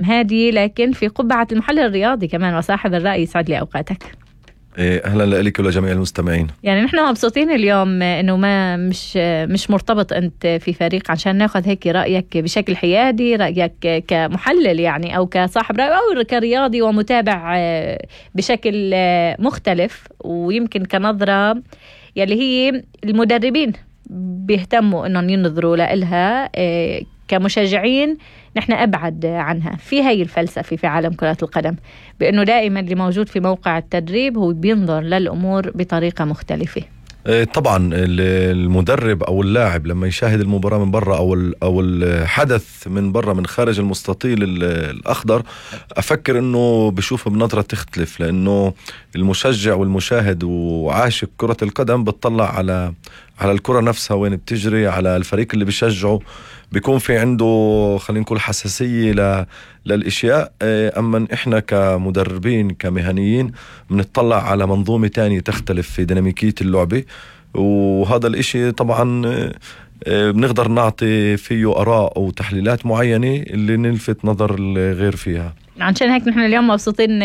هادي، لكن في قبعة المحلل الرياضي كمان وصاحب الرأي. يسعد لي أوقاتك. أهلا لك ولجميع المستمعين. يعني نحن مبسوطين اليوم إنه ما مش مرتبط أنت في فريق عشان ناخذ هيك رأيك بشكل حيادي، رأيك كمحلل يعني أو كصاحب رأي أو كرياضي ومتابع بشكل مختلف، ويمكن كنظرة يلي هي المدربين بيهتموا إنهم ينظروا لها كمشجعين. نحن أبعد عنها في هاي الفلسفة في عالم كرة القدم، بأنه دائما اللي موجود في موقع التدريب هو بينظر للأمور بطريقة مختلفة. طبعا المدرب أو اللاعب لما يشاهد المباراة من برا أو الحدث من برا من خارج المستطيل الأخضر، أفكر أنه بشوفه بنظرة تختلف، لأنه المشجع والمشاهد وعاشق كرة القدم بتطلع على الكرة نفسها وين بتجري، على الفريق اللي بيشجعه، بيكون في عنده خلينا نقول حساسية للإشياء. أما إحنا كمدربين كمهنيين بنطلع على منظومة تانية تختلف في ديناميكية اللعبة، وهذا الإشي طبعا بنقدر نعطي فيه آراء أو تحليلات معينة اللي نلفت نظر الغير فيها. عشان هيك نحن اليوم مبسوطين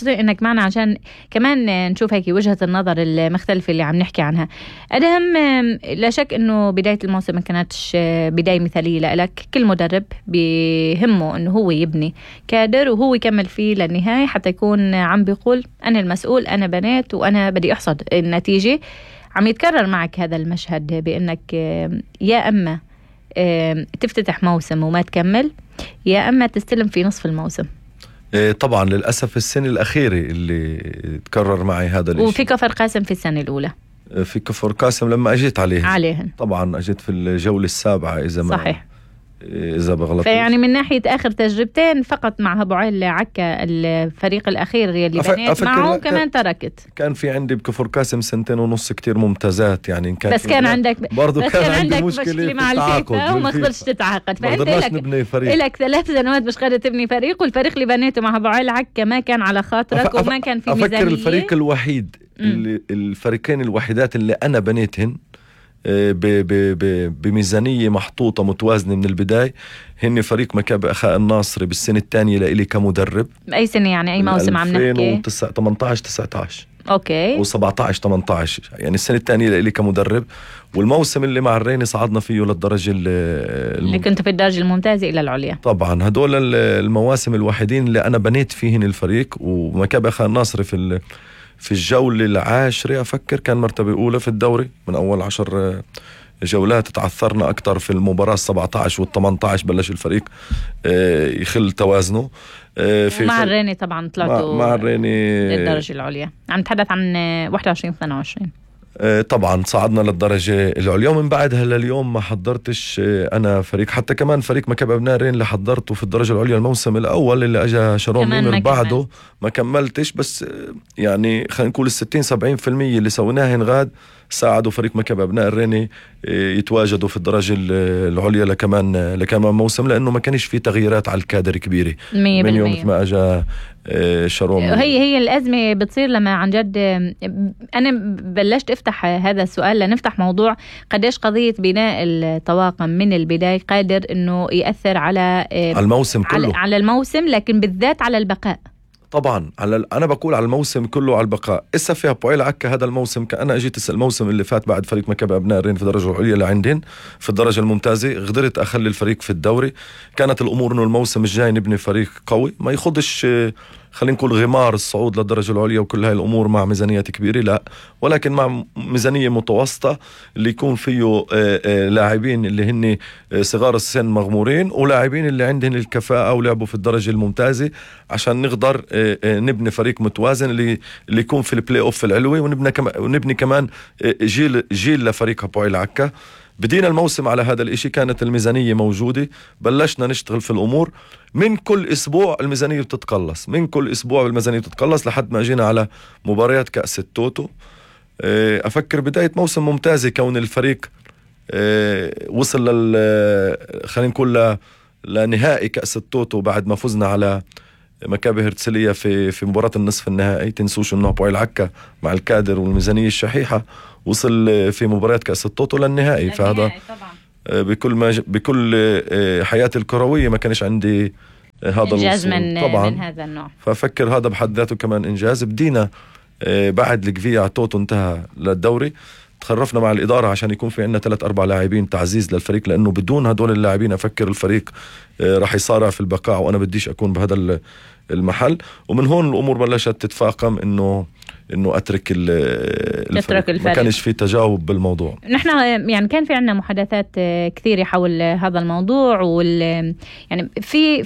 انك معنا عشان كمان نشوف هيك وجهة النظر المختلفة اللي عم نحكي عنها. أدهم، لا شك انه بداية الموسم ما كانتش بداية مثالية لك. كل مدرب بيهمه انه هو يبني كادر وهو يكمل فيه للنهاية حتى يكون عم بيقول انا المسؤول، انا بنيت وانا بدي احصد النتيجة. عم يتكرر معك هذا المشهد بانك يا اما تفتتح موسم وما تكمل، يا أما تستلم في نصف الموسم. طبعا للأسف السنة الأخيرة اللي تكرر معي هذا الشيء. وفي كفر قاسم في السنة الأولى، في كفر قاسم لما أجيت عليهن طبعا أجيت في الجولة السابعة إذا بغلط. فيعني من ناحية آخر تجربتين فقط مع أبو علي عكا الفريق الأخير اللي بنيت معه كمان تركت. كان في عندي بكفر قاسم 2.5 سنين كتير ممتازات يعني. بس كان عندك برضو كان عندك مشكلة مع الفيفا وما قدرتش تتعاقد، فأنت لك 3 سنوات مش قادر تبني فريق، والفريق اللي بنيته مع أبو علي عكا ما كان على خاطرك وما كان في ميزانية. أفكر الفريق الوحيد الفريقين الوحيدات اللي أنا بنيتهن بميزانية محطوطة متوازنة من البداية هن فريق مكابي أخاء الناصري بالسنة الثانية لإلي كمدرب. أي سنة يعني أي موسم عم نحكي؟ 2018-19 أوكي، و17-18 يعني السنة الثانية لإلي كمدرب. والموسم اللي مع الريني صعدنا فيه للدرجة اللي كنت في الدرجة الممتازة إلى العليا. طبعا هدول المواسم الوحيدين اللي أنا بنيت فيهن الفريق. ومكابي أخاء الناصري في الجولة العاشرة أفكر كان مرتبة أولى في الدوري من أول 10 جولات. تعثرنا أكتر في المباراة 17 وال18 بلش الفريق يخل توازنه. مع الريني طبعا طلعتوا مع الريني للدرجة العليا. عم نتحدث عن 21-22. طبعا صعدنا للدرجة العليا. ومن بعدها لليوم ما حضرتش أنا فريق، حتى كمان فريق مكابي أبناء الرين اللي حضرته في الدرجة العليا الموسم الأول اللي أجا شارون ميمر بعده ما كملتش. بس يعني خلينا نقول 60-70% اللي سويناه غاد ساعدوا فريق مكابي أبناء الريني يتواجدوا في الدرجة العليا لكمان موسم، لأنه ما كانش في تغييرات على الكادر كبيرة من يوم ما أجا شارون. هي الأزمة بتصير لما عن جد أنا بلشت أفتح هذا السؤال لنفتح موضوع قديش قضية بناء الطواقم من البداية قادر إنه يأثر على الموسم كله، على الموسم، لكن بالذات على البقاء. طبعا أنا بقول على الموسم كله على البقاء. إسا فيها بوعيل عكا هذا الموسم أنا أجيت الموسم اللي فات بعد فريق مكابي أبناء الرين في الدرجة العليا اللي عندهن في الدرجة الممتازة، قدرت أخلي الفريق في الدوري. كانت الأمور إنه الموسم الجاي نبني فريق قوي ما يخدش خلينا نقول غمار الصعود للدرجة العليا وكل هاي الأمور مع ميزانيات كبيرة، لا، ولكن مع ميزانية متوسطة اللي يكون فيه لاعبين اللي هن صغار السن مغمورين ولاعبين اللي عندهم الكفاءة ولعبوا في الدرجة الممتازة عشان نقدر نبني فريق متوازن اللي يكون في البلاي أوف العلوي. ونبني كمان جيل لفريق هبوعيل عكا. بدينا الموسم على هذا الاشي، كانت الميزانية موجودة، بلشنا نشتغل في الأمور. من كل أسبوع الميزانية بتتقلص، من كل أسبوع الميزانية بتتقلص لحد ما جينا على مباريات كأس التوتو. أفكر بداية موسم ممتازة كون الفريق وصل خلينا نقول لنهائي كأس التوتو بعد ما فزنا على مكابي هرتسلية في مباراة النصف النهائي. تنسوش انه هبوعيل عكا مع الكادر والميزانية الشحيحة وصل في مباريات كأس التوتو للنهائي. فهذا بكل حياتي الكروية ما كانش عندي هذا إنجاز الوصول طبعا من هذا النوع. ففكر هذا بحد ذاته كمان إنجاز. بدينا بعد الكفية توتو انتهى للدوري تخرفنا مع الإدارة عشان يكون في عندنا 3-4 لاعبين تعزيز للفريق، لأنه بدون هدول اللاعبين أفكر الفريق راح يصارع في البقاء، وأنا بديش أكون بهذا المحل. ومن هون الأمور بلشت تتفاقم إنه أترك الفريق. ما كانش في تجاوب بالموضوع. نحن يعني كان في عنا محادثات كثيرة حول هذا الموضوع، يعني في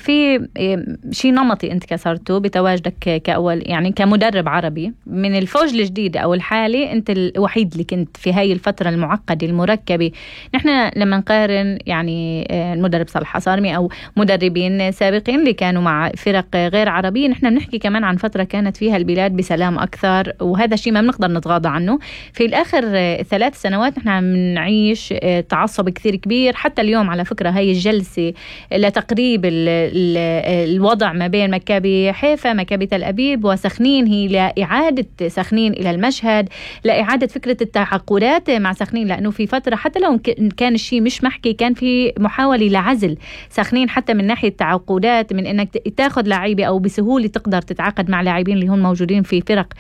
شيء نمطي انت كسرته بتواجدك كأول يعني كمدرب عربي من الفوج الجديد أو الحالي. انت الوحيد اللي كنت في هاي الفترة المعقدة المركبة. نحن لما نقارن يعني المدرب صالح حصارمي أو مدربين سابقين اللي كانوا مع فرق غير عربية، نحن بنحكي كمان عن فترة كانت فيها البلاد بسلام أكثر، وهذا الشيء ما بنقدر نتغاضى عنه. في الآخر 3 سنوات نحن عم نعيش تعصب كثير كبير. حتى اليوم على فكرة هاي الجلسة لتقريب الوضع ما بين مكابي حيفا مكابي تل أبيب وسخنين هي لإعادة سخنين إلى المشهد، لإعادة فكرة التعاقدات مع سخنين، لأنه في فترة حتى لو كان الشيء مش محكي كان في محاولة لعزل سخنين حتى من ناحية التعاقدات، من إنك تاخذ لاعيبة أو بسهولة تقدر تتعاقد مع لاعبين اللي هم موجودين في فرق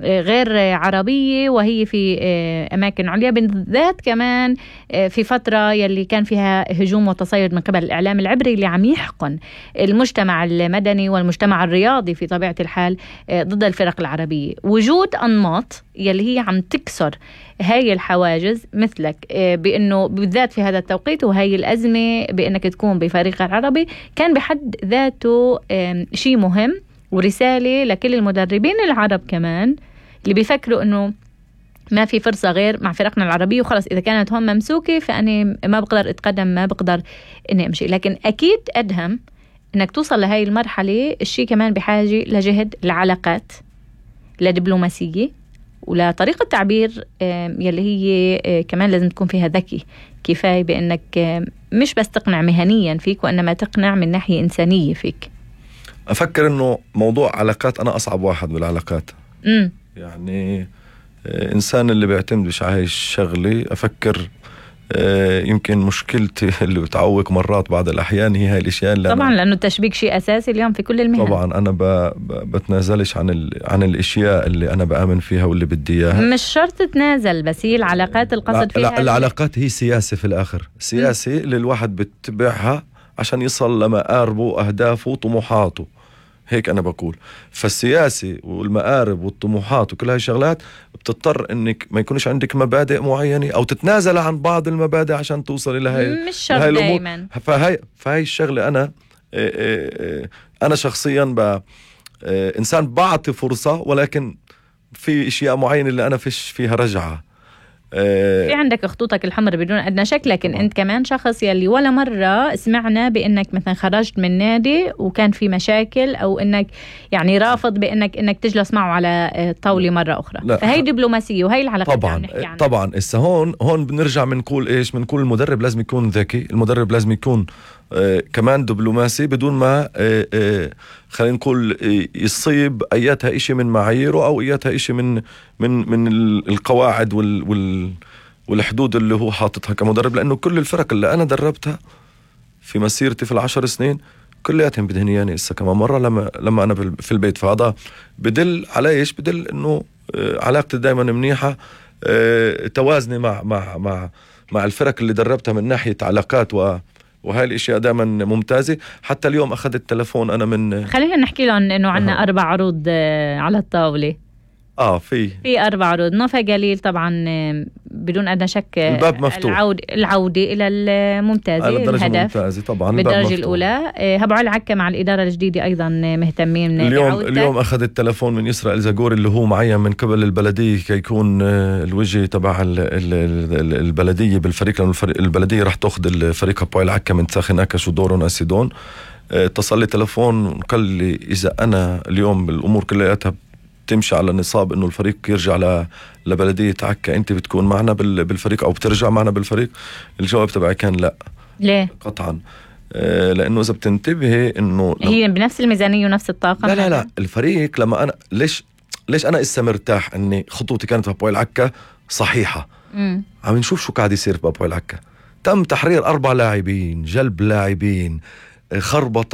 غير عربية وهي في أماكن عليا، بالذات كمان في فترة يلي كان فيها هجوم وتصيد من قبل الإعلام العبري اللي عم يحقن المجتمع المدني والمجتمع الرياضي في طبيعة الحال ضد الفرق العربية. وجود أنماط يلي هي عم تكسر هاي الحواجز مثلك بأنه بالذات في هذا التوقيت وهاي الأزمة بأنك تكون بفريق العربي كان بحد ذاته شيء مهم ورسالة لكل المدربين العرب كمان اللي بيفكروا أنه ما في فرصة غير مع فرقنا العربية وخلص إذا كانت هم ممسوكة فأني ما بقدر أتقدم، ما بقدر إني أمشي. لكن أكيد أدهم إنك توصل لهاي المرحلة الشيء كمان بحاجة لجهد العلاقات، لدبلوماسية، ولطريقة تعبير يلي هي كمان لازم تكون فيها ذكي كفاية بأنك مش بس تقنع مهنيا فيك وإنما تقنع من ناحية إنسانية فيك. أفكر إنه موضوع علاقات أنا أصعب واحد بالعلاقات. يعني إنسان اللي بيعتمد مش عايش شغلي. أفكر يمكن مشكلتي اللي بتعوق مرات بعض الأحيان هي هاي الأشياء طبعا لأنه التشبيك شيء أساسي اليوم في كل المهن. طبعا أنا بتنازلش عن الأشياء اللي أنا بآمن فيها واللي بدي إياها. مش شرط تتنازل، بس هي العلاقات القصد فيها العلاقات هي سياسة في الآخر، سياسة اللي الواحد بتبعها عشان يصل لمقاربه وأهدافه وطموحاته. هيك أنا بقول. فالسياسة والمقارب والطموحات وكل هاي الشغلات بتضطر إنك ما يكونش عندك مبادئ معينة أو تتنازل عن بعض المبادئ عشان توصل إلى هاي. مش شرط دايما. فهاي الشغلة أنا شخصيا إنسان بعطي فرصة، ولكن في أشياء معينة اللي أنا فيش فيها رجعة. في عندك خطوطك الحمر بدون أدنى شك، لكن أنت كمان شخص يلي ولا مرة سمعنا بأنك مثلا خرجت من نادي وكان في مشاكل أو أنك يعني رافض بأنك تجلس معه على طاولة مرة أخرى. فهي دبلوماسية وهي العلاقات طبعا اللي عنها. طبعا هون بنرجع بنقول إيش؟ بنقول المدرب لازم يكون ذكي، المدرب لازم يكون كمان دبلوماسي بدون ما خلينا نقول يصيب اياتها إشي من معاييره او اياتها إشي من القواعد والحدود اللي هو حاططها كمدرب. لانه كل الفرق اللي انا دربتها في مسيرتي في 10 سنين كلياتهم بدهنياني اسا كمان مرة لما انا في البيت. فهذا بدل على ايش؟ بدل انه علاقتي دائما منيحة، توازني مع الفرق اللي دربتها من ناحية علاقات وهاي الاشياء دائما ممتازة. حتى اليوم اخذت التلفون انا من خلينا نحكي لهم انه عنا 4 عروض على الطاولة. في 4 عروض. نوفا جليل طبعا بدون أدنى شك الباب مفتوح، العودة إلى الممتازة، الهدف طبعا بالدرجة الأولى. هبو علي عكا مع الإدارة الجديدة أيضا مهتمين اليوم أخذ التلفون من يسرى الزاغوري اللي هو معين من قبل البلدية كيكون الوجه تبع البلدية بالفريق، لأنه البلدية راح تأخذ الفريق هبو علي عكا من تساخن أكش ودورون أسيدون. اتصل لي تلفون قال لي إذا أنا اليوم الأمور كلها تمشي على نصاب انه الفريق يرجع لبلدية عكا، انت بتكون معنا بالفريق او بترجع معنا بالفريق؟ الجواب تبعي كان لا. ليه؟ قطعا لانه اذا بتنتبهي انه هي بنفس الميزانية ونفس الطاقة. لا الفريق لما انا ليش انا اسا مرتاح اني خطوتي كانت بابويل عكا صحيحة. عم نشوف شو قاعد يصير بابويل عكا. تم تحرير 4 لاعبين، جلب لاعبين، خربطة